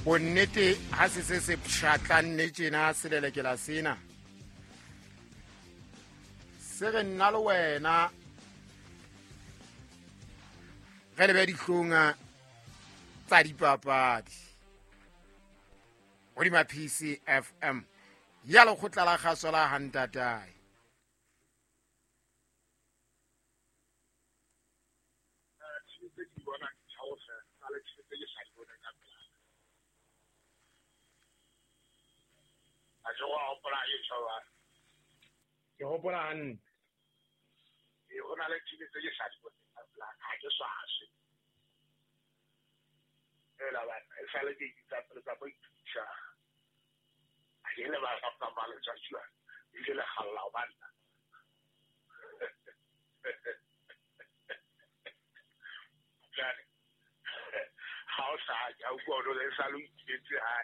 Bonnete ha se se se pshatlanne tjena selelekela sena. Se re nna le wena re lebe dihlong tsa dipapadi. Hodima PCFM ya lekgotla la kgaso la Hantatae. Ke hopola hantle. Ho na le team tse ke sa di boneng ka pela ha ke swaswe. Fela bana e sale ke itsa pele tsa boithusa. Ha ke le ba ka ba le tsatsi la ile le galla o banna. Jane. Ha o sa ja o go le sa lo itse ha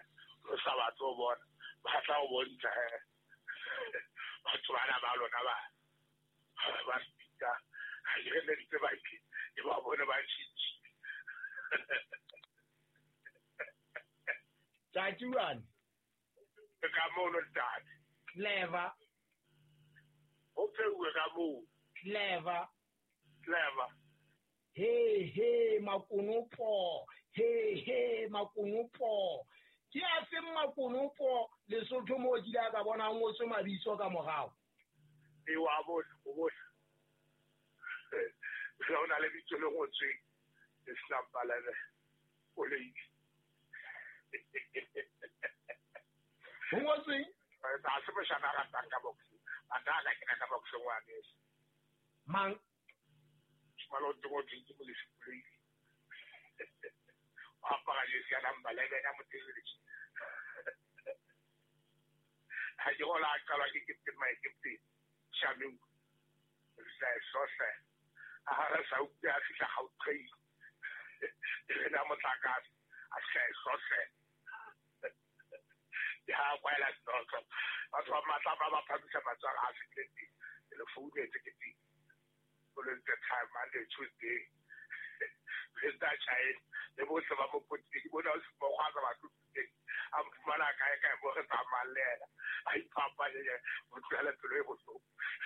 o sa batlo ho bona. Ba tla o bontsha he. Batho bana ba lona ba ba speaker ha ke re le ba ke e ba bone ba tshitshi. Tjatjuane. Ka mono ntate. Clever. O pheuwe ka moo. Clever. Clever. He he makonopo. He he makonopo. Ke a feng makonopo Lesotho moo ke ile ka bona ngotswe mabitso ka morao. E wa bona, o bona. Ho na le bitso le ngotsweng le senang palebe o le itse. Ho ngotsweng? Ha se moshana a ratang ka boxing. Batho a ka kena ka boxing wa nese. Mang? Malo o ngotsweng ke Molefi Koloi. O apara jesi ya number 11 ya motelele. Ha ke gola a qalwa ke captain my captain Shamim. Sa sosa. A ha re sa utlwe a fihla Gauteng. E na motlakase a sa sosa. Ya kwaela dinoto. Batho ba matla ba ba phamisa matswalo a fihlile teng. Ke le founetse ke teng. O le ntse time Monday, Tuesday. President Chaine le bohle ba mo potile ke bona o se mokgwa batho teng. A mfumana kae kae mo re tsamayang le yena. A iphapanye o tlohele pelo e bohloko.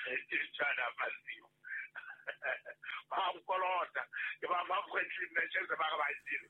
Ke tjhana masimo. Ba nkolota. Ke ba fa friendly matches ba re ba jele.